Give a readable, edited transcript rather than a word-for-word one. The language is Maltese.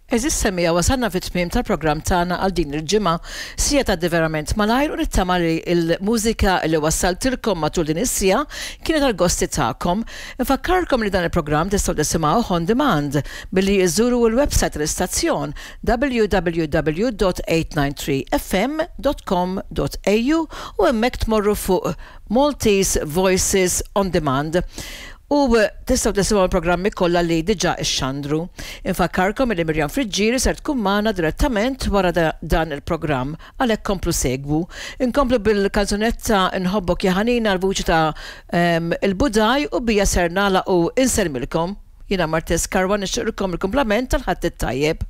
Għeżież semmiegħa wasalna fit-tmiem tal-programm tagħna għal din il-ġimgħa. Siegħa tgħaddi verament malajr u nittama li l-mużika li wassaltilkom matul din is-siegħa kienet għall-gosti tagħkom. Infakkarkom li dan il-programm tistgħu tisimgħuh on demand billi iżżuru l-website tal-istazzjon www.893fm.com.au u hemmhekk tmorru fuq Maltese Voices on Demand u tistgħu tisimgħu l-programmi kollha li diġà xxandru. Infakkarkom illi Miriam Friggieri ser tkun magħna direttament wara dan il-programm, għalhekk komplu segwu. Inkomplu bil-kanzunetta Nħobbok ja ħanina għall-vuċi ta' Il-Budaj u bija ser nagħlaq u insellmilkom. Jiena Martez Karwa nixtieqlkom il-kumplament tal-Ħadd it-tajjeb.